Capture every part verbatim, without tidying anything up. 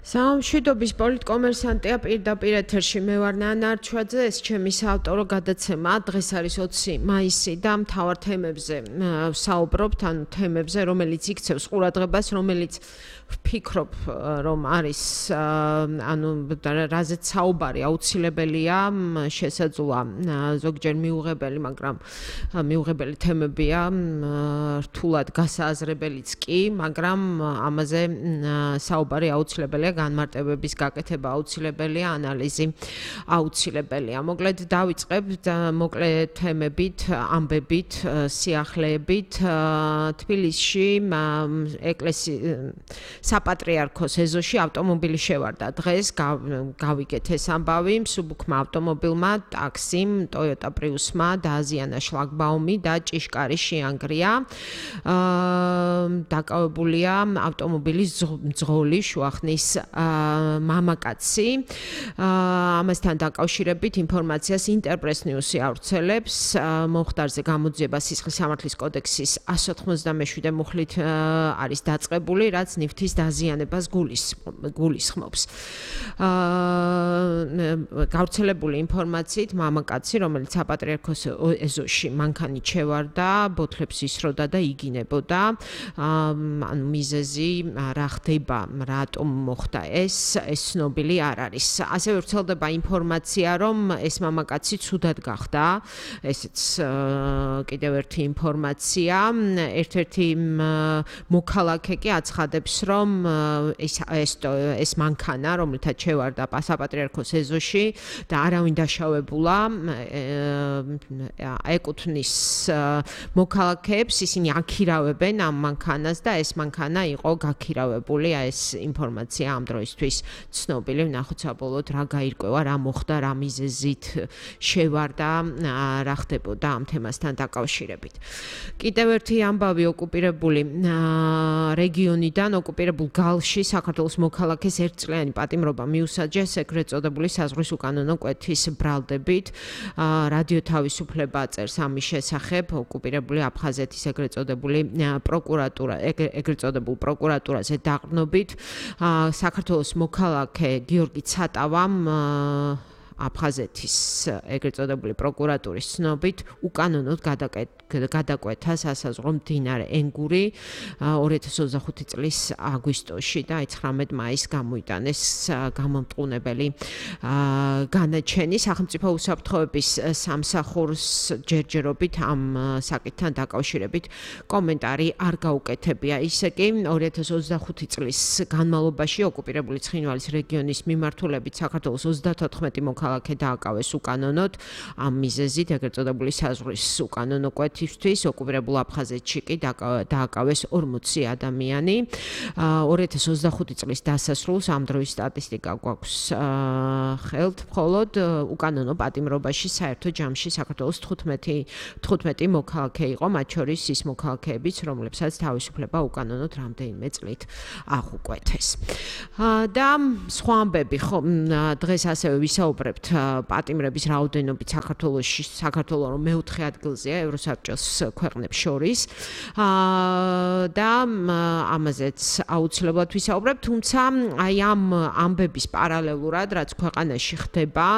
სამშვიდობის პოლიტკომერსანტია პირდაპირ ეთერში მე ვარ ნანა არჩვაძე, ეს ჩემი საავტორო გადაცემა. დღეს არის ოცი მაისი და მთავარ თემებზე საუბრობთ, ანუ თემებზე, რომელიც იქცევს ყურადღებას, რომელიც ვფიქრობ, რომ არის ანუ რაზეც საუბარი აუცილებელია, შესაძლოა ზოგჯერ მიუღებელი, მაგრამ მიუღებელი თემებია, რთულად გასააზრებელიც კი, მაგრამ ამაზე საუბარი აუცილებელია, განმარტებების გაკეთება აუცილებელია, ანალიზი აუცილებელია. მოკლედ დავიწყებთ მოკლე თემებით, ამბებით, სიახლეებით. თბილისში ეკლესიის საპატრიარქოს ეზოში ავტომობილი შევარდა. დღეს გავიგეთ ეს ამბავი, მსუბუქმა ავტომობილმა, ტაქსიმ, Toyota Prius-მა დააზიანა შლაგბაუმი და ჭიშკარი შეანგრია. დაკავებულია ავტომობილის მძღოლი შუახნის მამაკაცი. ამასთან დაკავშირებით ინფორმაციას ინტერპრეს ნიუსი ავრცელებს. მომხდარზე გამოძიება სისხლის სამართლის კოდექსის εκατს ოთხმოცდამეშვიდე მუხლით არის დაწყებული, რაც ნივთის დაზიანებას გულისხმობს. გავრცელებული ინფორმაციით მამაკაცი, რომელიც საპატრიარქოს ეზოში მანქანით შევარდა, ბოთლებს ისროდა და იგინებოდა. ანუ მიზეზი რა ხდება, რატომ მოხდა ეს, ეს ცნობილი არ არის. ასევე ვრცელდება ინფორმაცია, რომ ეს მამაკაცი ცუდად გახდა. ესეც კიდევ ერთი ინფორმაცია. ერთ-ერთი მოქალაქე კი აცხადებს, რომ ეს ეს მანქანა, რომელთაც შევარდა საპატრიარქოს ეზოში და არავინ დაშავებულა, ეკუთვნის მოქალაქეებს, ისინი აქირავებენ ამ მანქანას და ეს მანქანა იყო გაქირავებული. ეს ინფორმაცია ამ დროისთვის ცნობილი. ვნახოთ საბოლოოდ რა გაირკვევა, რა მოხდა, რა მიზეზით შევარდა, რა ხდებოდა ამ თემასთან დაკავშირებით. კიდევ ერთი ამბავი ოკუპირებული რეგიონიდან, ოკუპირებულ გალში საქართველოს მოქალაქეს ერთწლიანი პატიმრობა მიუსაჯეს ეგრეთ წოდებული საზღვრის უკანონო კვეთის ბრალდებით. რადიო თავისუფლება წერს ამის შესახებ, ოკუპირებული აფხაზეთის ეგრეთ წოდებული პროკურატურა, ეგრეთ წოდებულ პროკურატურაზე დაყრდნობით. საქართველოს მოქალაქე გიორგი ცატავამ აფხაზეთის ეგრეთ წოდებული პროკურატურის ცნობით უკანონოდ გადაკვეთა სასაზღვრო მდინარე ენგური ორი ათას ოცდახუთი წლის აგვისტოში და ცხრამეტ მაისს გამოიტანეს გამომტყუნებელი განაჩენი. სახელმწიფო უსაფრთხოების სამსახურს ჯერჯერობით ამ საკითხთან დაკავშირებით კომენტარი არ გაუკეთებია. ისე კი ორი ათას ოცდახუთი წლის განმავლობაში ოკუპირებული ცხინვალის რეგიონის მიმართულებით საქართველოს ოცდათოთხმეტი მოქალაქე დააკავეს უკანონოდ ამ მიზეზით ეგრეთ წოდებული საზღვრის უკანონო კვეთისთვის. ოკუპირებულ აფხაზეთში კი დააკავეს ორმოცი ადამიანი. ორი ათას ოცდახუთი წლის დასასრულს ამ დროის სტატისტიკა გვაქვს ხელთ, მხოლოდ უკანონო პატიმრობაში საერთო ჯამში საქართველოს თხუთმეტი მოქალაქე იყო, მათ შორის ის მოქალაქეებიც, რომლებსაც თავისუფლება უკანონოდ რამდენიმე წლით აღუკვეთეს. და სხვა ამბები, ხო, დღეს ასევე ვისაუბრებთ პატიმრების რაოდენობით საქართველოში, საქართველო რომ მეოთხე ადგილზეა ევროსაბჭოს ქვეყნებს შორის. და ამაზეც აუცილებლად ვისაუბრებთ, თუმცა აი ამ ამბების პარალელურად, რაც ქვეყანაში ხდება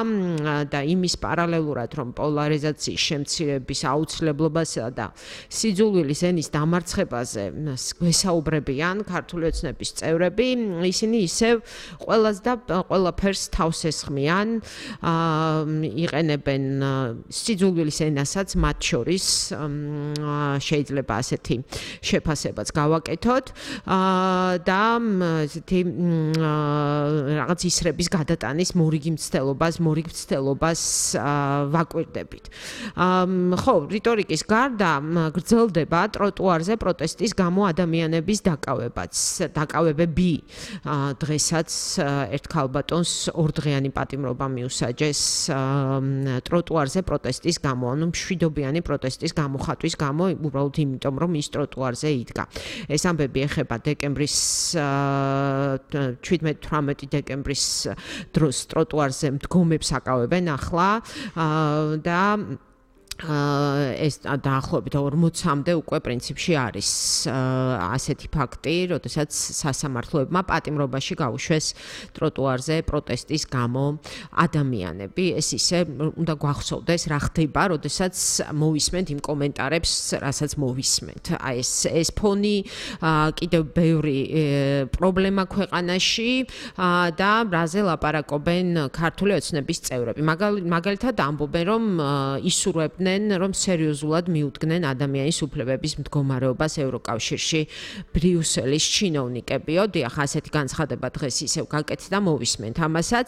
და იმის პარალელურად, რომ პოლარიზაციის შემცირების აუცილებლობასა და სიძულვილის ენის დამარცხებაზე გვესაუბრებიან ქართული ოცნების წევრები, ისინი ისევ ყველას და ყველაფერს თავს ესხმიან. იყენებენ სიძულვილის ენასაც, მათ შორის შეიძლება ასეთი შეფასებაც გავაკეთოთ და ესეთი რაღაც ისრების გადატანის მორიგი მცდელობას, მორიგ მცდელობას ვაკვირდებით. ხო, რიტორიკის გარდა გრძელდება ტროტუარზე პროტესტის გამო ადამიანების დაკავებაც, დაკავებები. დღესაც ერთ ქალბატონს ორდღიანი პატიმრობა მიუსაჯეს ტროტუარზე პროტესტის გამო, ანუ მშვიდობიანი პროტესტის გამოხატვის გამო, უბრალოდ იმიტომ, რომ ის ტროტუარზე იდგა. ეს ამბები ეხება დეკემბრის შვიდმეტი თვრამეტი დეკემბრის დროს ტროტუარზე მდგომებს აკავებენ ახლა და ეს დაახლოებით ორმოცამდე უკვე პრინციპში არის ასეთი ფაქტი, როდესაც სასამართლოებმა პატიმრობაში გაუშვეს ტროტუარზე პროტესტის გამო ადამიანები. ეს ისე უნდა გვახსოვდეს, რა ხდება, როდესაც მოვისმენთ იმ კომენტარებს, რასაც მოვისმენთ. აი ეს ეს ფონი კიდევ ბევრი პრობლემა ქვეყანაში და რაზე ლაპარაკობენ ქართული ოცნების წევრები. მაგალითად ამბობენ, რომ ისურვებდნენ რომ სერიოზულად მიუდგნენ ადამიანის უფლებების მდგომარეობას ევროკავშირში ბრიუსელის ჩინოვნიკებიო. დიახ, ასეთი განცხადება დღეს ისევ გაკეთდა, მოვისმენთ ამასაც,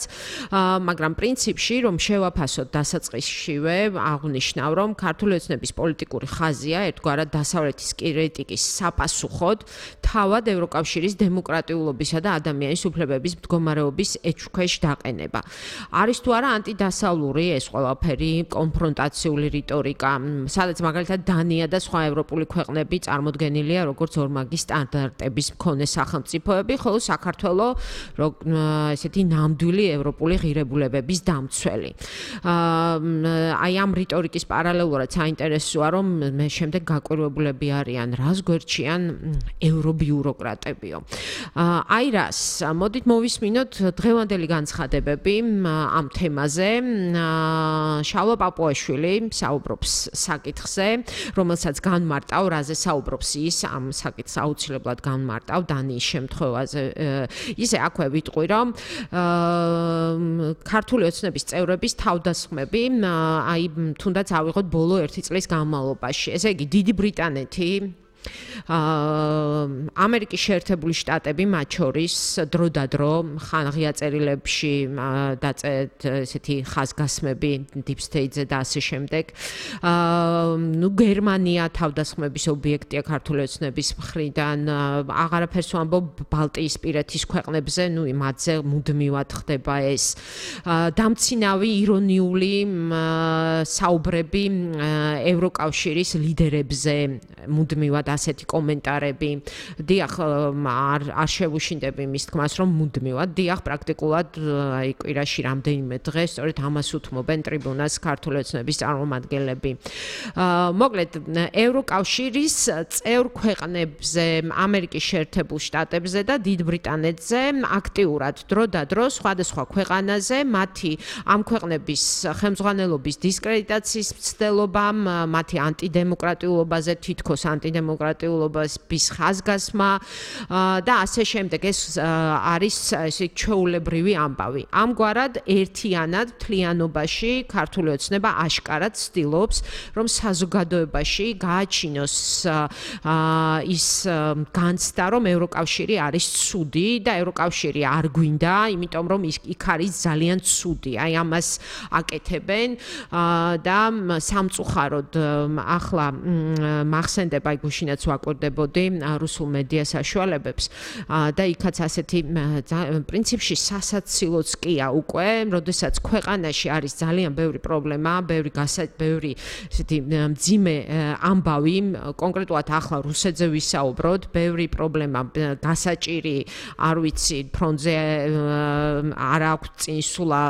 მაგრამ პრინციპში რომ შევაფასოთ დასაწყისშივე აღნიშნავ, რომ ქართული ოცნების პოლიტიკური ხაზია ერთგვარად დასავლეთის კრიტიკის sapasუხოდ თავად ევროკავშირის დემოკრატიულობისა და ადამიანის უფლებების მდგომარეობის ეჭვქვეშ დაყენება. არის თუ არა ანტიდასავლური ეს ყველაფერი კონფრონტაციული რიტორიკა, სადაც მაგალითად დანია და სხვა ევროპული ქვეყნები წარმოდგენილია როგორც ორმაგი სტანდარტების მქონე სახელმწიფოები, ხოლო საქართველოს ესეთი ნამდვილი ევროპული ღირებულებების დამცველი. აი ამ რიტორიკის პარალელურად საინტერესოა, რომ მე შემდეგ გაკვირვებულები არიან რას გვერდჩიან ევრობიუროკრატებიო. აი რას, მოდით მოვისმინოთ დღევანდელი განცხადებები ამ თემაზე. შალვა პაპუაშვილი საუბრობს საკითხზე, რომელსაც განმარტავ, რაზე საუბრობს ის, ამ საკითხს აუცილებლად განმარტავ დანიის შემთხვევაზე. ისე აქვე ვიტყვი, რომ ქართული ოცნების წევრების თავდასხმები, აი თუნდაც ავიღოთ ბოლო ერთი წლის განმავლობაში. ესე იგი, დიდი ბრიტანეთი, ამერიკის შეერთებული შტატები მათ შორის დროდადრო ხანღია წერილებში დაწერთ ესეთი ხაზგასმები deep state-ზე და ასე შემდეგ. ნუ გერმანია თავდასხმების ობიექტია ქართული ოცნების მხრიდან. აღარაფერს ვამბობ ბალტიისპირეთის ქვეყნებზე, ნუ მათზე მუდმივად ხდება ეს. დამცინავი ირონიული საუბრები ევროკავშირის ლიდერებზე მუდმივად ასეთი კომენტარები. დიახ, არ არ შევუშინდები მის თქმას, რომ მუდმივად, დიახ, პრაქტიკულად აი კვირაში რამდენიმე დღე სწორედ ამას უთმობენ ტრიბუნას ქართული ოცნების წარმომადგენლები. მოკლედ, ევროკავშირის წევრ ქვეყნებზე, ამერიკის შეერთებულ შტატებზე და დიდ ბრიტანეთზე აქტიურად დროდადრო სხვადასხვა ქვეყანაზე მათი ამ ქვეყნების ხელმძღვანელობის დისკრედიტაციის მცდელობამ, მათი ანტიდემოკრატიულობაზე თითქოს ანტიდემოკრატიულობას ხაზგასმა და ასე შემდეგ. ეს არის ესე ჩვეულებრივი ამბავი. ამგვარად ერთიანად მთლიანობაში ქართული ოცნება აშკარად ცდილობს, რომ საზოგადოებაში გააჩინოს ის განცდა, რომ ევროკავშირი არის ცუდი და ევროკავშირი არ გვინდა, იმიტომ რომ იქ არის ძალიან ცუდი. აი ამას აკეთებენ და სამწუხაროდ ახლა მახსენდება გუშინაც ვაკვირდებოდი რუსულ მედია საშუალებებს და იქაც ასეთი პრინციპში სასაცილოც კია უკვე, როდესაც ქვეყანაში არის ძალიან ბევრი პრობლემა, ბევრი ბევრი ესეთი მძიმე ამბავი, კონკრეტულად ახლა რუსეთზე ვისაუბროთ, ბევრი პრობლემა გასაჭირი, არ ვიცი, ფრონტზე არ აქვს წინსულა,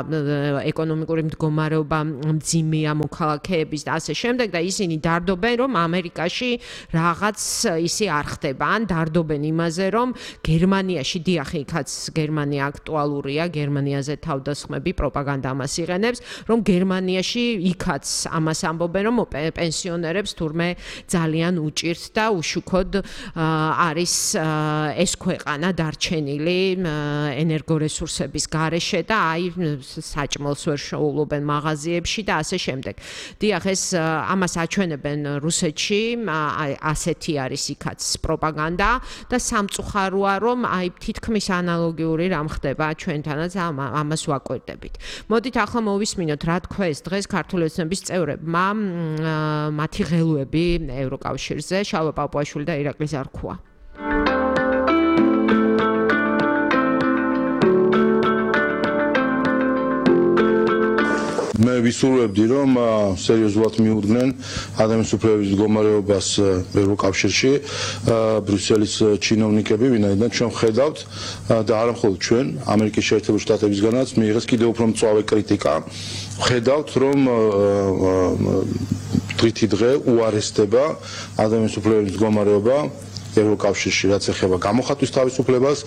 ეკონომიკური მდგომარეობა მძიმეა მოქალაქეების და ასე შემდეგ და ისინი დარდობენ, რომ ამერიკაში რაღაც ისე არ ხდება, ან დარდობენ იმაზე, რომ გერმანიაში, დიახ, იქაც გერმანია აქტუალურია, გერმანიაზე თავდასხმები, პროპაგანდა ამას იღენებს, რომ გერმანიაში იქაც ამას ამბობენ, რომ პენსიონერებს თურმე ძალიან უჭირთ და უშუქოდ არის ეს ქვეყანა დარჩენილი ენერგორესურსების გარეშე და აი საჭმელს ვერ შეუვლობენ მაღაზიებში და ასე შემდეგ. დიახ, ეს ამას აჩვენებენ რუსეთში, ასეთი არის იქაც პროპაგანდა და სამწუხაროა, რომ აი თითქმის ანალოგიური რამ ხდება ჩვენთანაც ამას ვაკვირდებით. მოდით ახლა მოვისმინოთ, რა თქვეს დღეს ქართული ოცნების წევრებმა მათი ღელვები ევროკავშირზე, შალვა პაპუაშვილი და ირაკლი ზარქუა. მე ვისურვებდი, რომ სერიოზულად მიუდგნენ ადამიანის უფლებების მდგომარეობას ევროკავშირში ბრიუსელის ჩინოვნიკები, ვინაიდან ჩვენ ვხედავთ და არა მხოლოდ ჩვენ, ამერიკის შეერთებული შტატებისგანაც მიიღეს კიდევ უფრო მწვავე კრიტიკა. ვხედავთ, რომ დღითი დღე უარესდება ადამიანის უფლებების მდგომარეობა ევროკავშირში, რაც ეხება გამოხატვის თავისუფლებას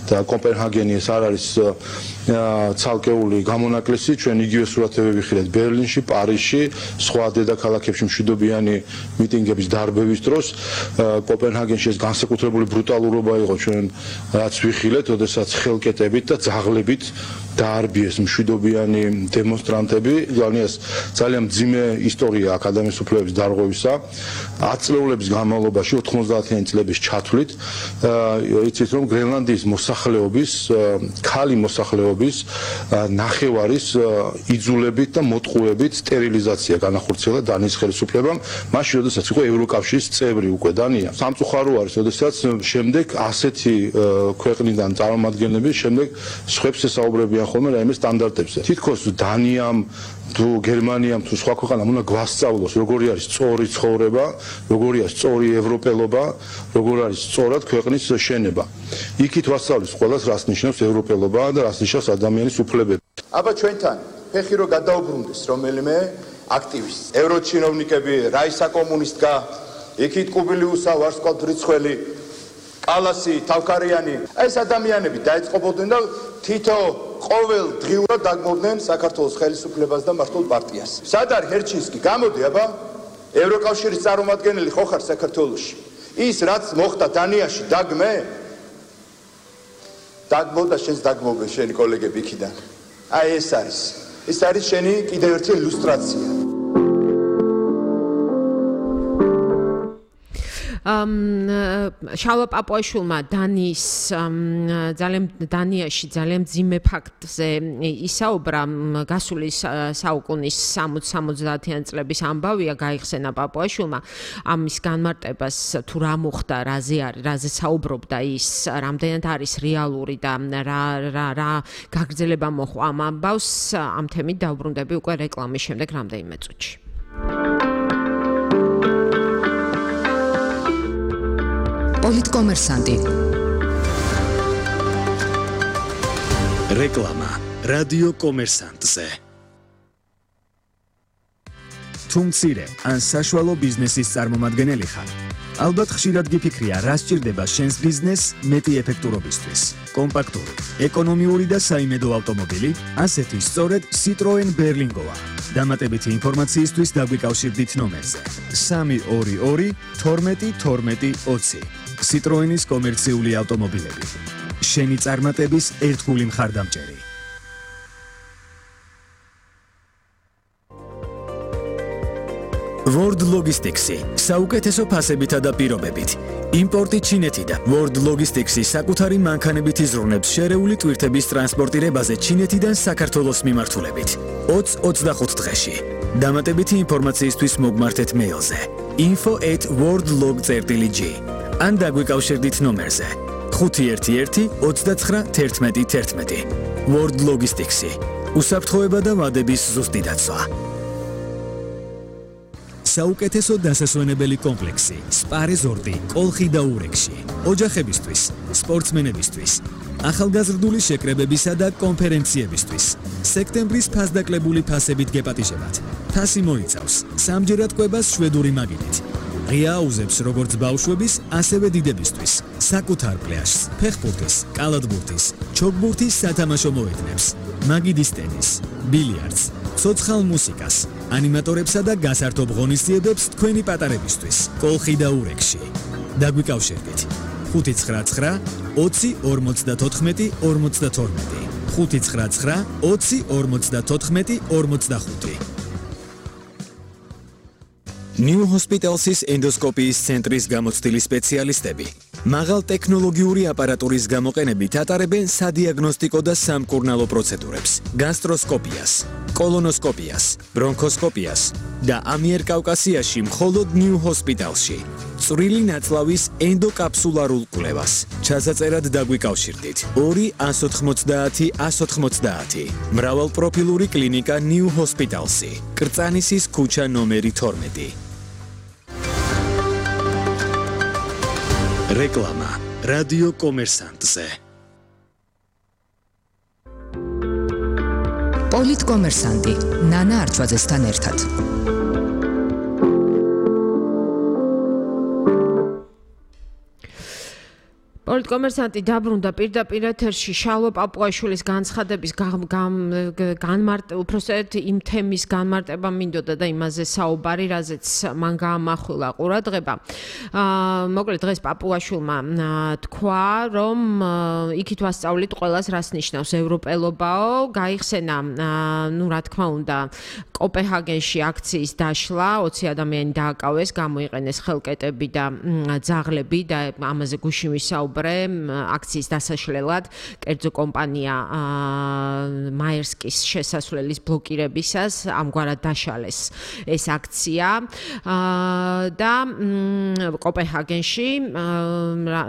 და კოპენჰაგენი ეს არ არის ცალკეული გამონაკლისი, ჩვენ იგივე სურათები ვიხილეთ ბერლინში, პარიზში, სხვა დედაქალაქებში მშვიდობიანი მიტინგების დარბევის დროს. კოპენჰაგენში ეს განსაკუთრებული ბრუტალურობა იყო ჩვენ რაც ვიხილეთ, ოდესაც ხელკეტებით და ძაღლებით დაარბიეს მშვიდობიანი დემონსტრანტები. ძალიან მძიმე ისტორია აქ ადამიანის უფლებების დარღვევისა. ათწლეულების განმავლობაში ოთხმოცდაათიანი წლების ჩათვლით იცით რომ გრენლანდიის მოსახლეობის ქალი მოსახლეობის ნახევარის იძულებით და მოტყუებით სტერილიზაცია განახორციელა დანიის ხელისუფლებამ მაშინ როდესაც იყო ევროკავშირის წევრი უკვე დანია. სამწუხარო არის როდესაც შემდეგ ასეთი ქვეყნიდან წარმომადგენლები შემდეგ სხვებს ესაუბრებიან ხოლმე რაიმე სტანდარტებზე. თითქოს დანიამ თუ გერმანიამ თუ სხვა ქვეყანამ უნდა გვასწავლოს როგორი არის სწორი ცხოვრება, როგორი არის სწორი ევროპელობა, როგორ არის სწორად ქვეყნის შენება. იქით ვასწავლის ყველას რას ნიშნავს ევროპელობა და რას ნიშნავს ადამიანის უფლებები. აბა ჩვენთან ფეხი რო გადაუბრუნდეს რომელიმე აქტივისტი, ევროჩინოვნიკები, რაისა კომუნისტკა, იქით კუბილიუსა, ვარსკვლავ რიცხველი, კალასი, თავქარიანი, ეს ადამიანები დაეწყობოდნენ და თითო ყოველ დღიურად დაგმობდნენ საქართველოს ხელისუფლებას და მართლ პარტიას. სად არის ჰერჩინსკი? გამოდი აბა, ევროკავშირის წარმომადგენელი ხო ხარ საქართველოში? ის რაც მოხდა დანიაში დაგმე? დაგმოდა შენს დაგმობენ შენი კოლეგები იქიდან. აი ეს არის. ეს არის შენი კიდევ ერთი ილუსტრაცია. შალვა პაპუაშვილმა დანიის ძალიან დანიაში ძალიან მძიმე ფაქტზე ისაუბრა გასული საუკუნის სამოცდაათიანი წლების ამბავია გაიხსენა პაპუაშვილმა ამის განმარტებას თუ რა მოხდა რაზე არის რაზე საუბრობდა ის რამდენად არის რეალური და რა რა რა გაგრძელება მოხდა ამ ამბავს ამ თემით დავბრუნდები უკვე რეკლამის შემდეგ რამდენიმე წუთში. პოლიტკომერსანტი. რეკლამა რადიო კომერსანტზე. თუ მცირე ან საშუალო ბიზნესის წარმომადგენელი ხარ, ალბათ ხშირად გიფიქრია, რა სჭირდება შენს ბიზნესს მეტი ეფექტურობისთვის. კომპაქტური, ეკონომიური და საიმედო ავტომობილი, ასეთი სწორედ Citroen Berlingoა. დამატებითი ინფორმაციისთვის დაგვიკავშირდით ნომერზე სამი ორი ორი თორმეტი თორმეტი ოცი. Citroenis კომერციული ავტომობილები. შენი წარმატების ერთგული მხარდამჭერი. World Logistics-ი საუკეთესო ფასებითა და პირობებით. იმპორტი ჩინეთიდან. World Logistics-ი საკუთარი მანქანებით იზრუნებს შერეული ტვირთების ტრანსპორტირებაზე ჩინეთიდან საქართველოს მიმართულებით. ოცი ოცდახუთ დღეში. დამატებითი ინფორმაციისთვის მოგმართეთ მეილზე info at worldlog dot g ან დაგვიკავშირდით ნომერზე ხუთი ერთი ერთი ოცდაცხრა თერთმეტი თერთმეტი. World Logistics-ი უსაფრთხოება და ვადების ზუსტი დაცვა. საუკეთესო დასასვენებელი კომპლექსი სპა რეზორტი კოლხი და ურეკში. ოჯახებისთვის, სპორტსმენებისთვის, ახალგაზრდული შეკრებებისა და კონფერენციებისთვის. სექტემბრის ფასდაკლებული ფასებით გეპატიჟებათ. ფასი მოიცავს სამჯერად კვებას შვედური მაგიდით. ღია აუზებს როგორც ბავშვების, ასევე დიდებისთვის. საკუთარ პლაჟს, ფეხბურთის, კალათბურთის, ჩოგბურთის სათამაშო მოედნებს, მაგიდის ტენის, ბილიარდს, ცოცხალ მუსიკას, ანიმატორებსა და გასართობ ღონისძიებებს თქვენი პატარებისთვის. კოლხი და ურეკში. დაგვიკავშირდით ხუთი ცხრა ცხრა ოცი ორმოცდათოთხმეტი ორმოცდათორმეტი ხუთი ცხრა ცხრა ოცი ორმოცდათოთხმეტი ორმოცდახუთი. New Hospital's ენდოსკოპიის ცენტრის გამოცდილი სპეციალისტები მაღალ ტექნოლოგიური აპარატურის გამოყენებით ატარებენ სადიაგნოსტიკო და სამკურნალო პროცედურებს, გასტროსკოპიას, კოლონოსკოპიას, ბრონქოსკოპიას და ამიერკავკასიაში მხოლოდ New Hospital's-ში წვრილი ნაწლავის ენდოკაფსულარულ კვლევას. ჩასაწერად დაგვიკავშირდით ორი ას ოთხმოცდაათი ას ოთხმოცდაათი. მრავალპროფილური კლინიკა New Hospital's-ი, კრწანისის ქუჩა ნომერი თორმეტი. რეკლამა რადიო კომერსანტზე. პოლიტკომერსანტი ნანა არწვაძესთან ერთად. პოლიტკომერსანტი დაბრუნდა პირდაპირ ეთერში შალვა პაპუაშვილის განცხადების განმარტება, უпроსტად იმ თემის განმარტება მინდოდა და იმაზე საუბარი, რაზეც მან გაამახვილა ყურადღება. მოკლედ დღეს პაპუაშვილმა თქვა, რომ იქით ვასწავლით ყველას რას ნიშნავს ევროპელობაო, გაიხსენა, ну, რა თქმა უნდა, კოპენჰაგენში აქციის დაშლა, ოცი ადამიანი დააკავეს, გამოიყენეს ხელკეტები და ძაღლები და ამაზე გუშინ ვისაუბრე აქციის დასაშლელად, კერძო კომპანია მაერსკის შესასვლელის ბლოკირებისას ამგვარად დაშალეს ეს აქცია და კოპენჰაგენში,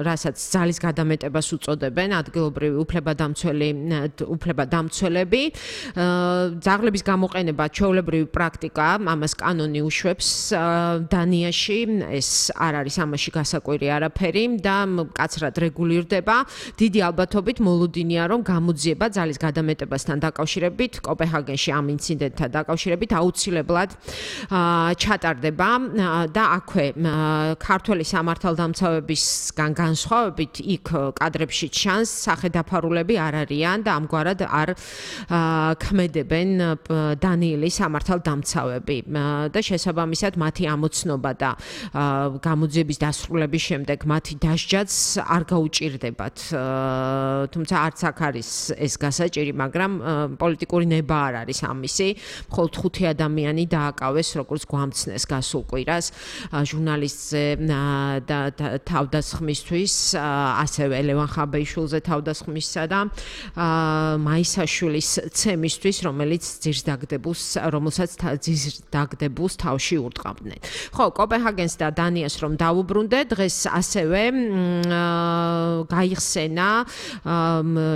რასაც ძალის გადამეტებას უწოდებენ ადგილობრივი უფლებადამცველი უფლებადამცველები, ძაღლების გამოყენება ჩვეულებრივი პრაქტიკაა, ამას კანონი უშვებს დანიაში, ეს არ არის ამაში გასაკვირი არაფერი და კაცრად რეგულირდება. დიდი ალბათობით მოლოდინია, რომ გამოძიება ძალის გადამეტებასთან დაკავშირებით, კოპენჰაგენში ამ ინციდენტთან დაკავშირებით აუცილებლად ჩატარდება და აქვე ქართველი სამართალდამცავებისგან განსხვავებით იქ კადრებში ჩანს სახედაფარულები არ არიან და ამგვარად არ ქმედებენ დანიელის სამართალდამცავები და შესაბამისად მათი ამოცნობა და გამოძიების დასრულების შემდეგ მათი დასჯაც არ გაუჭირდებათ. თუმცა არც აქ არის ეს გასაჭირი, მაგრამ პოლიტიკური ნება არ არის ამისი. მხოლოდ ხუთი ადამიანი დააკავეს, როგორც გვამცნეს გასულ კვირას ჟურნალისტზე და თავდასხმისთვის, ასევე ლევან ხაბეიშვილზე თავდასხმისა და მაისაშვილის ცემისთვის, რომელიც ძირს დაგდებულს, რომელსაც ძირს დაგდებულს თავში ურტყამდნენ. ხო, კოპენჰაგენს და დანიას რომ დაუბრუნდე, დღეს ასევე გაიხსენა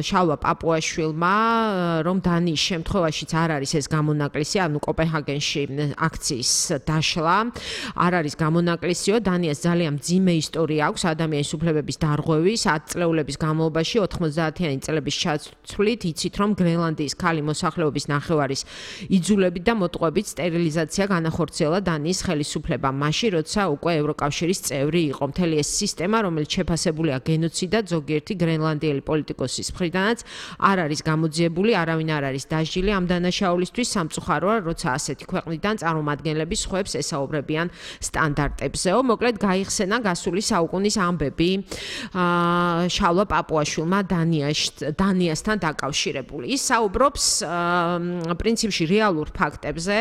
შალვა პაპუაშვილმა, რომ დანიის შემთხვევაშიც არ არის ეს გამონაკლისი, ანუ კოპენჰაგენში აქციის დაშლა არ არის გამონაკლისიო, დანიას ძალიან მძიმე ისტორია აქვს ადამიანის უფლებების დარღვევის, ათ წლეულების განმავლობაში ოთხმოცდაათიანი წლების ჩათვლით, იცით რომ გრენლანდიის ქალი მოსახლეობის ნახევარის იძულებით და მოტყუებით სტერილიზაცია განახორციელა დანიის ხელისუფლებამ, მაშინ როცა უკვე ევროკავშირის წევრი იყო. მთელი ეს სისტემა, რომელიც შეფასებულია გენოციდად, ზოგიერთი გრენლანდიელი პოლიტიკოსის მხრიდანაც არ არის გამოძიებული, არავინ არ არის დასჯილი ამ დანაშაულისთვის. სამწუხაროა, როცა ასეთი ქვეყნიდან წარმომადგენლები სხვებს ესაუბრებიან სტანდარტებზეო. მოკლედ გაიხსენა გასული საუკუნის ამბები შალვა პაპუაშვილმა დანიასთან დაკავშირებული. ის საუბრობს პრინციპში რეალურ ფაქტებზე,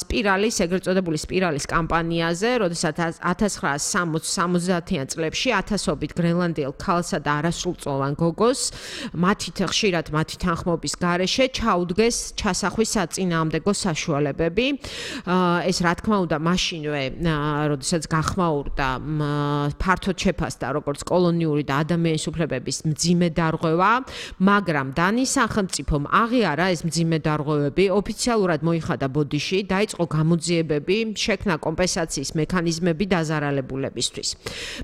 სპირალის, ეგრეთ წოდებული სპირალის კამპანიაზე, როდესაც ათას ცხრაასი სამოცდაათიან წლებში ათასობით გრენლანდიელ ქალსა და არასრულწლოვან გოგოს მათით ხშირად მათი თანხმობის გარეშე ჩაუდგეს ჩასახვის საწინააღმდეგო საშუალებები. ეს რა თქმა უნდა მაშინვე, როდესაც გახმაურდა ფართოდ შეფასდა როგორც კოლონიური და ადამიანის უფლებების მძიმე დარღვევა, მაგრამ დანიის სახელმწიფომ აღიარა ეს მძიმე დარღვევები, ოფიციალურად მოიხადა ბოდიში, დაიწყო გამოძიებები, შექმნა კომპენსაციის მექანიზმები დაზარალებულებისთვის.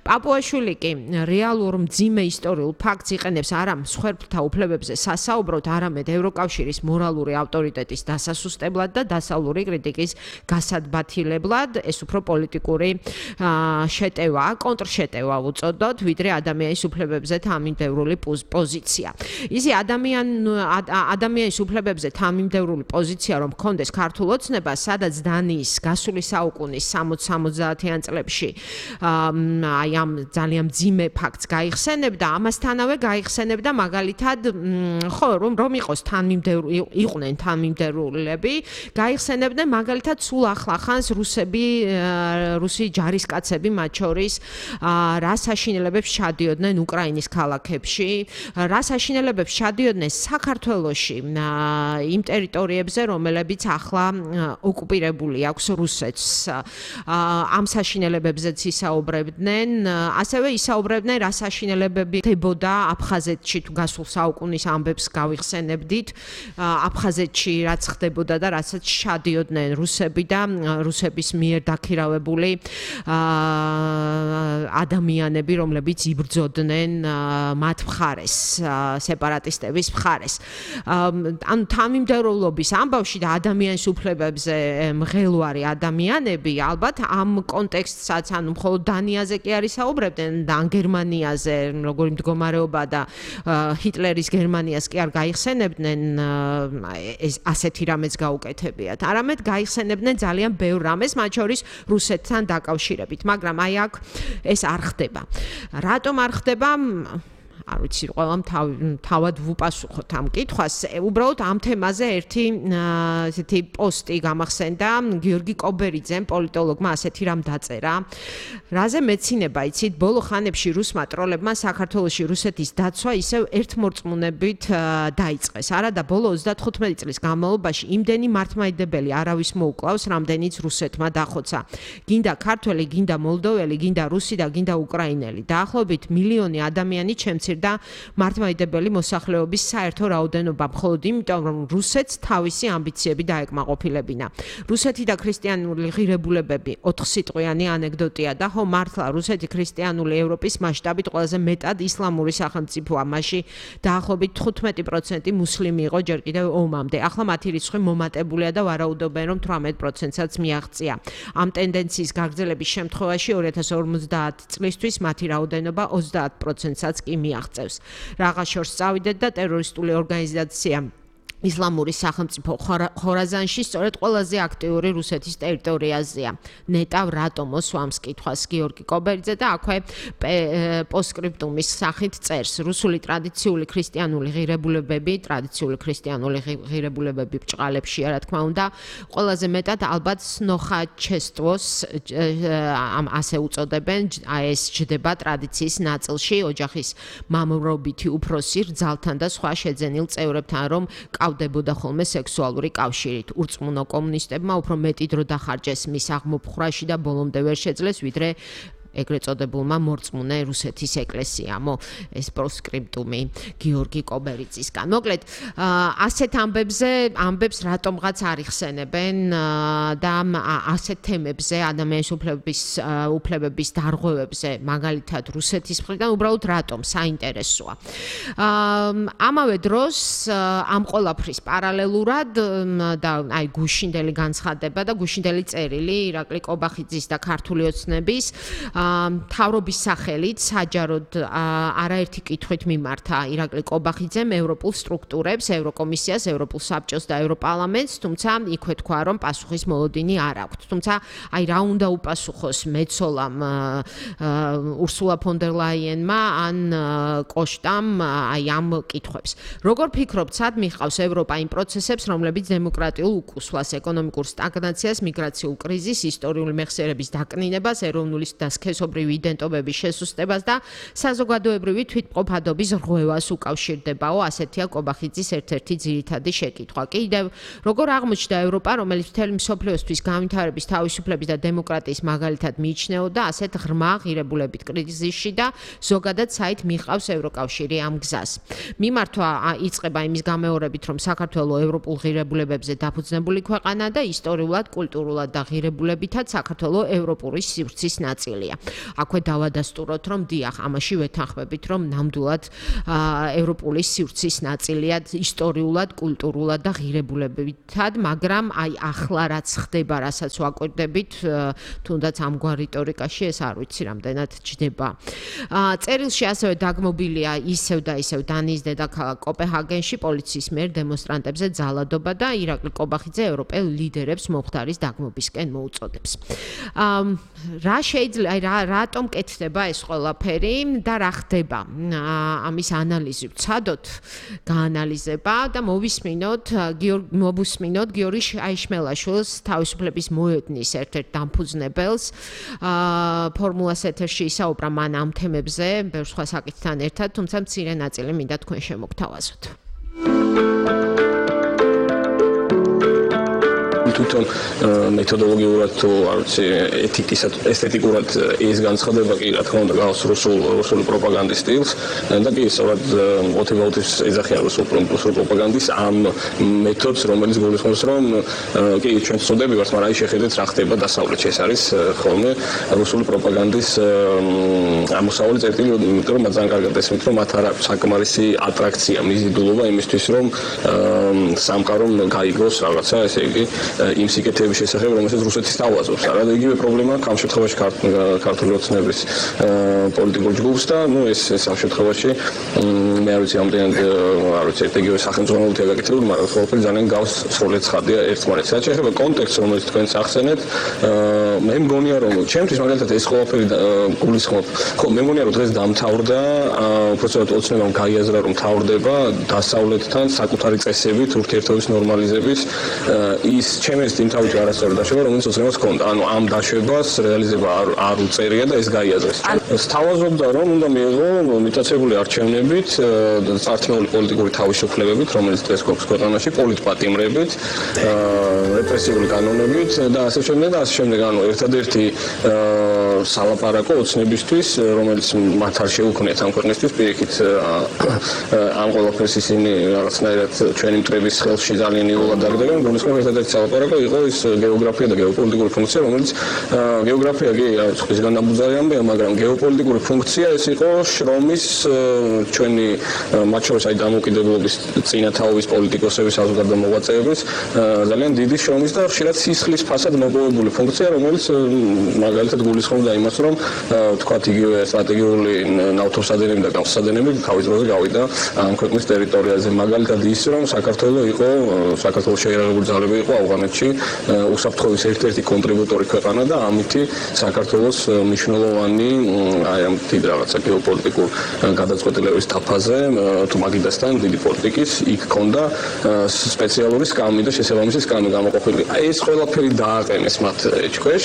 პაპუაშვილი კი რეალურ მძიმე ისტორიულ ფაქტს იყენებს არა მსხვერპლთა უფლებებზე სასაუბროდ, არამედ ევროკავშირის მორალური ავტორიტეტის დასასუსტებლად და დასავლური კრიტიკის გასადბათილებლად. ეს უფრო პოლიტიკური შეტევაა, კონტრშეტევა უწოდოთ, ვიდრე ადამიანის უფლებებზე თანმიმდევრული პოზიცია. ისი ადამიანის უფლებებზე თანმიმდევრული პოზიცია რომ ჰქონდეს ქართულ ოცნებას, სადაც დანიის გასული საუკუნის სამოცდაათიან წლებში აი ამ ძალიან მძიმე ფაქტს გაიხსენებდა, ამასთანავე გაიხსენებდა მაგალითად, ხო, რომ რომ იყოს თანმიმდევრული, იყვნენ თანმიმდევრულები, გაიხსენებდნენ მაგალითად სულ ახლახანს რუსები, რუსი ჯარისკაცები მათ შორის რა საშინელებებს ჩადიოდნენ უკრაინის ქალაქებში, რა საშინელებებს ჩადიოდნენ საქართველოში, იმ ტერიტორიებზე, რომლებიც ახლა ოკუპირებული აქვს რუსეთს. ამ საშინელებებზეც ისაუბრებდნენ, ასევე ისაუბრებდნენ რა საშინელებები ხდებოდა აფხაზეთში, თუ გასულ საუკუნის ამბებს გავიხსენებდით, აფხაზეთში რაც ხდებოდა და რასაც ჩადიოდნენ რუსები და რუსების მიერ დაქირავებული ადამიანები, რომლებიც იბრძოდნენ მათ მხარეს, სეპარატისტების მხარეს. ანუ თანმიმდევრულობის ამბავში და ადამიანის უფლებებზე მღელვარი ადამიანები, ალბათ ამ კონტექსტსაც, ანუ მხოლოდ დანიაზე კი არ ისაუბრებდნენ და ან გერმანიაზე როგორი მდგომარეობა და ჰიტლერის გერმანიას კი არ გაიხსენებდნენ ეს ასეთი რამეც გაუკეთებიათ. არამედ გაიხსენებდნენ ძალიან ბევრ რამეს, მათ შორის რუსეთთან დაკავშირებით, მაგრამ აი აქ ეს არ ხდება. რატომ არ ხდება? არ ვიცი, ყველამ თავად ვუპასუხოთ ამ კითხვას. უბრალოდ ამ თემაზე ერთი ესეთი პოსტი გამახსენდა გიორგი კობერიძემ, პოლიტოლოგმა, ასეთი რამ დაწერა. რაზე მეცინება, იცით, ბოლო ხანებში რუსმა ტროლებმა საქართველოში რუსეთის დაცვა ისევ ერთმორწმუნებით დაიწყეს. არა და ბოლო ოცდათხუთმეტი წლის განმავლობაში იმდენი მართლმადიდებელი არავის მოუკლავს, რამდენიც რუსეთმა დახოცა. გინდა ქართველი, გინდა მოლდოველი, გინდა რუსი და გინდა უკრაინელი. დაახლოებით მილიონი ადამიანი ჩემცირდა მართლმადიდებელი მოსახლეობის საერთო რაოდენობა, მხოლოდ იმიტომ, რომ რუსეთს თავისი ამბიციები დაეკმაყოფილებინა. რუსეთი და ქრისტიანული ღირებულებები ოთხსიტყვიანი ანეკდოტია და ხო მართლა რუსეთი ქრისტიანული ევროპის მასშტაბით ყველაზე მეტად ისლამური სახელმწიფოა. მასში დაახლოებით თხუთმეტი პროცენტი მუსლიმი იყო ჯერ კიდევ ომამდე. ახლა მათი რიცხვი მომატებულია და ვარაუდობენ, რომ თვრამეტ პროცენტსაც მიაღწია. ამ ტენდენციის გაგრძელების შემთხვევაში ორი ათას ორმოცდაათი წლისთვის მათი რაოდენობა ოცდაათ პროცენტსაც კი მიაღწევს. რაღაც შორს წავიდეთ და ტერორისტული ორგანიზაცია ისლამური სახელმწიფო ხორაზანში სწორედ ყველაზე აქტიური რუსეთის ტერიტორიაზეა. ნეტავ რატომ მოსვამს კითხვას გიორგი კობერიძე და აქვე პოსტსკრიპტუმის სახით წერს. რუსული ტრადიციული ქრისტიანული ღირებულებები, ტრადიციული ქრისტიანული ღირებულებები ბჭყალებში, რა თქმა უნდა, ყველაზე მეტად ალბათ სნოხაჩესტვოს ამ ასე უწოდებენ, ეს ჯდება ტრადიციის ნაწილში, ოჯახის მამრობითი უფროსი რძალთან და სხვა შეძენილ წევრებთან, რომ ავდებოდა ხოლმე სექსუალური კავშირით. ურწმუნო კომუნისტებმა უფრო მეტი დრო დახარჯეს მის აღმოფხვრაში და ბოლომდე ვერ შეძლეს, ვიდრე ეგრეთ წოდებულმა მორწმუნე რუსეთის ეკლესიამო. ეს პოსტსკრიპტუმი გიორგი კობერიძისგან. მოკლედ, ასეთ ამბებზე, ამბებს რატომღაც არ იხსენებენ და ასეთ თემებზე, ადამიანის უფლებების უფლებების დარღვევებზე, მაგალითად რუსეთის მხრიდან უბრალოდ რატომ საინტერესოა. ამავე დროს ამ ყველაფრის პარალელურად და აი გუშინდელი განცხადება და გუშინდელი წერილი ირაკლი კობახიძის და ქართული ოცნების მთავრობის სახელით საჯაროდ არაერთი კითხვით მიმართა ირაკლი კობახიძემ ევროპულ სტრუქტურებს, ევროკომისიას, ევროპულ საბჭოს და ევროპარლამენტს, თუმცა იქვე თქვა, რომ პასუხის მოლოდინი არ აქვთ. თუმცა აი რა უნდა უპასუხოს მეცოლამ ურსულა ფონ დერ ლაიენმა ან კოშტამ აი ამ კითხვებს. როგორ ფიქრობთ, სად მიხავს ევროპა იმ პროცესებს, რომლებიც დემოკრატიულ უკუსვლას, ეკონომიკურ სტაგნაციას, მიგრაციულ კრიზისს, ისტორიული მეხსიერების დაკნინებას, ეროვნული და სქესობრივი იდენტობების შესუსტებას და საზოგადოებრივი თვითმყოფადობის რღვევას უკავშირდებაო, ასეთია კობახიძის ერთ-ერთი ძირითადი შეკითხვა. კიდევ როგორ აღმოჩნდა ევროპა, რომელიც მთელი მსოფლიოსთვის განვითარების, თავისუფლების და დემოკრატიის მაგალითად მიიჩნეოდა, ასეთ ღრმა ღირებულებით კრიზისში და ზოგადად საით მიხავს ევროკავშირი ამ გზას. მიმართვა იწყება იმის გამეორებით, რომ საქართველო ევროპულ ღირებულებებზე დაფუძნებული ქვეყანა და ისტორიულად, კულტურულად და ღირებულებითაც საქართველო ევროპური სივრცის ნაწილია. აქვე დავადასტუროთ, რომ დიახ, ამაში ვეთანხმებით, რომ ნამდვილად ევროპული სივრცის ნაწილია ისტორიულად, კულტურულად და ღირებულებითად, მაგრამ აი ახლა რაც ხდება, რასაც ვაკვირდებით, თუნდაც ამგვარ რიტორიკაში ეს არ ვიცი რამდენად ჯდება. წერილში ასევე დაგმობილია ისევ და ისევ დანიის დედაქალაქ კოპენჰაგენში პოლიციის მიერ დემონსტრანტებზე ძალადობა და ირაკლი კობახიძე ევროპელ ლიდერებს მომხდარის დაგმობისკენ მოუწოდებს. რა შეიძლება აი რატომ კეთდება ეს ყველაფერი და რა ხდება? ამის ანალიზი ვცადოთ, გაანალიზება და მოვისმინოთ გიორგი მოვუსმინოთ გიორგი აიშმელაშვილს, თავისუფლების მოედნის ერთ-ერთ დამფუძნებელს. ფორმულას ეთერში ისაუბრა მან ამ თემებზე, ბევრ სხვა საკითხთან ერთად, თუმცა მცირე ნაწილი მინდა თქვენ შემოგთავაზოთ. თვითონ მეთოდოლოგიურად თუ არ ვიცი ეთიკისად ესთეტიკურად ის განცხადება კი რა თქმა უნდა გავს რუსულ რუსული პროპაგანდის სტილს და კი სწორად ოტივაუტის ეძახიან რუსულ პროპაგანდის ამ მეთოდს რომელიც გულისხმობს რომ კი ჩვენ ვწოდები ვართ მაგრამ აი შეხედეთ რა ხდება დასავლეთში ეს არის ხოლმე რუსული პროპაგანდის ამოსავალი წერტილი იმიტომ რომ ძალიან კარგად ესმით რომ მათ არ აქვს საკმარისი ატრაქცია მიზიდულობა იმისთვის რომ სამყარომ გაიგოს რაღაცა ესე იგი იმ სიკეთეების შესახებ, რომელსაც რუსეთი სთავაზობს. არა, იგივე პრობლემა ამ შემთხვევაში ქართული ოცნების პოლიტიკურ ჯგუფს და ნუ ეს ეს ამ შემთხვევაში მე არ ვიცი ამდენად არ ვიცი ერთ იგივე სახელმწიფოებრივი გაკეთებული, მაგრამ ყველაფერი ძალიან გავს სრულად ცხადია ერთმანეთს. რაც შეეხება კონტექსტს, რომელიც თქვენს ახსენეთ, მე მგონია რომ ჩემთვის მაგალითად ეს ყველაფერი გულისხმობ. ხო, მე მგონია რომ დღეს დამთავრდა, უბრალოდ ოცნებამ გაიაზრა რომ თავრდება დასავლეთთან საკუთარი წესებით ურთიერთობის ნორმალიზების ის ჩემს იმთავით არასწორი დაშვება, რომელიც ოცნებას ჰქონდა. ანუ ამ დაშვებას რეალიზება არ არ უწერია და ეს გაიაზრეს. სთავაზობდა რომ უნდა მიიღო მიტაცებული არჩევნებით, წარჩეული პოლიტიკური თავისუფლებებით, რომელიც დღეს გვაქვს ქვეყანაში, პოლიტპატიმრებით, რეპრესიული კანონებით და ასე შემდეგ და ასე შემდეგ. ანუ ერთადერთი სალაპარაკო ოცნებისთვის, რომელიც მათ არ შეუქმნიათ ამ ქვეყნისთვის, პირიქით ამ ყველაფერს ისინი რაღაცნაირად ჩვენი მტრების ხელში ძალიან იოლად დაგდებენ. გულისხმობ ერთადერთი სალაპარაკო იყო ის გეოგრაფია და გეოპოლიტიკური ფუნქცია, რომელიც გეოგრაფია კი ხისგან ნაბუზარი ამბია, მაგრამ გეოპოლიტიკური ფუნქცია ეს იყო შრომის ჩვენი მათ შორის აი დამოუკიდებლობის წინა თაობის პოლიტიკოსების საზოგადო მოღვაწეების ძალიან დიდი შრომის და ხშირად სისხლის ფასად მოპოვებული ფუნქცია, რომელიც მაგალითად გულისხმობდა იმას, რომ თქვათ იგივე სტრატეგიული ნავთობსადენები და გამხსადენები თავის დროზე გავიდა ამ ქვეყნის ტერიტორიაზე. მაგალითად ის, რომ საქართველო იყო საქართველოს შეიარაღებული ძალები იყო ავღანეთში უსაფრთხოების ერთ-ერთი კონტრიბუტორი ქვეყანა და ამითი საქართველოს მნიშვნელოვანი აი ამ დიდ რაღაცა გეოპოლიტიკურ გადაწყვეტილების თაფაზე თუ მაგიდასთან დიდი პოლიტიკის იქ ქონდა სპეციალური სკამი და შესაბამისი სკამი გამოყოფილი. აი ეს ყველაფერი დააყენეს მათ ეჭქვეშ.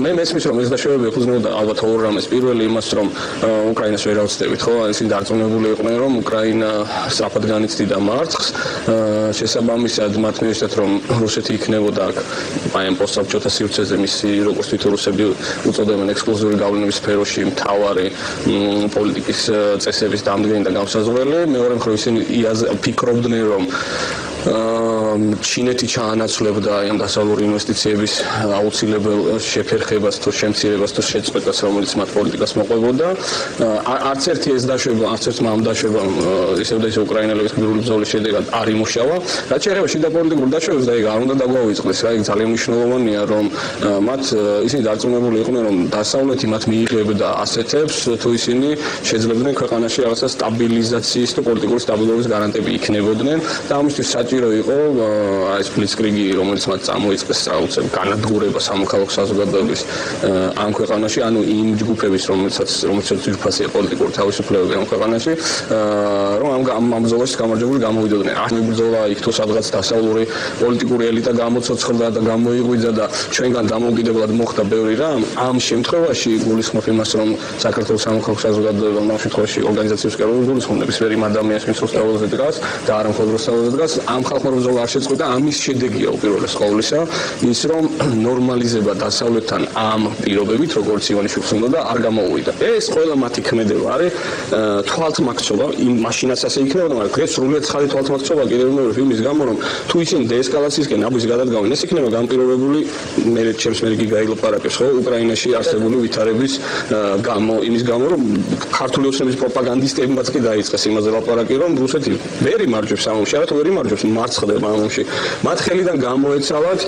მე მესმის რომ ეს დაშვებები ეფუძნებოდა ალბათ ორ რამეს. პირველი იმას რომ უკრაინას ვერ ავწდებით, ხო? ისინი დარწმუნებული იყვნენ რომ უკრაინა სწრაფად განიცდიდა მარცხს. შესაბამისად მათ მიეშთათ რომ რუსეთი იქნებოდა აქ აი ამ პოსტსაბჭოთა სივრცეზე მისი როგორც თვითონ რუსები უწოდებენ ექსკლუზიური გავლენების სფეროში მთავარი პოლიტიკის წესების დამდგენი და გამსაზღვრელი. მეორე მხრივ ისინი ფიქრობდნენ რომ ჩინეთი ჩაანაცვლებდა ამ დასავლური ინვესტიციების აუცილებელ შეფერხებას თუ შემცირებას თუ შეწყვეტას, რომელიც მათ პოლიტიკას მოყვებოდა. არც ერთი ეს დაშვება, არც ერთმა ამ დაშვებამ ისევ და ისევ უკრაინელების გმირული ბრძოლის შედეგად არ იმუშავა. რაც შეეხება შიდა პოლიტიკურ დაშვებას და ეგ არ უნდა დაგვაუწყდეს, რა, ეგ ძალიან მნიშვნელოვანია, რომ მათ ისინი დარწმუნებული იყვნენ, რომ დასავლეთი მათ მიიღებდა ასეთებს, თუ ისინი შეძლებდნენ ქვეყანაში რაღაცა სტაბილიზაციის თუ პოლიტიკური სტაბილურობის გარანტები იქნებოდნენ და ამისთვის საჭირო იყო აი ეს ბლიცკრიგი, რომელიც მათ წამოიწყეს საოცრად განადგურება სამოქალაქო საზოგადოების ამ ქვეყანაში, ანუ იმ ჯგუფების, რომელსაც რომელსაც ძირფასია პოლიტიკური თავისუფლებები ამ ქვეყანაში, რომ ამ ამ ბრძოლაში გამარჯვებული გამოვიდოდნენ. ამ ბრძოლა იქ თუ სადღაც დასავლური პოლიტიკური ელიტა გამოცოცხლდა და გამოიღვიძა და ჩვენგან დამოუკიდებლად მოხდა ბევრი რამ. ამ შემთხვევაში გულისხმობ იმას, რომ საქართველოს სამოქალაქო საზოგადოება ამ შემთხვევაში ორგანიზაციებს კეროვებს გულისხმობ ნებისმიერ იმ ადამიანს, ვინც რუსთავაზე დგას და არა მხოლოდ რუსთავაზე დგას, ამ ხალხმა ბრძოლა არ შეწყვეტა. ამის შედეგია უპირველეს ყოვლისა ის, რომ ნორმალიზება დასავლეთთან ამ პირობებით, როგორც ივანიშვილს უნდა და არ გამოუვიდა. ეს ყველა მათი ქმედება არის თვალთმაქცობა, იმ მაშინაც ასე იქნებოდა, მაგრამ დღეს სრულიად ცხადი თვალთმაქცობა კიდევ მეორე ფილმის გამო, რომ თუ ისინი დეესკალაციისკენ აბის გადადგავენ, ეს იქნება განპირობებული მე ჩემს მე იგი გაილაპარაკებს, ხო, უკრაინაში არსებული ვითარების გამო, იმის გამო, რომ ქართული ოცნების პროპაგანდისტებმაც კი დაიწყეს იმაზე ლაპარაკი, რომ რუსეთი ვერ იმარჯვებს ამ ომში, არა თუ ვერ იმარჯვებს, მარცხდება ამ ომში. მათ ხელიდან გამოეცალათ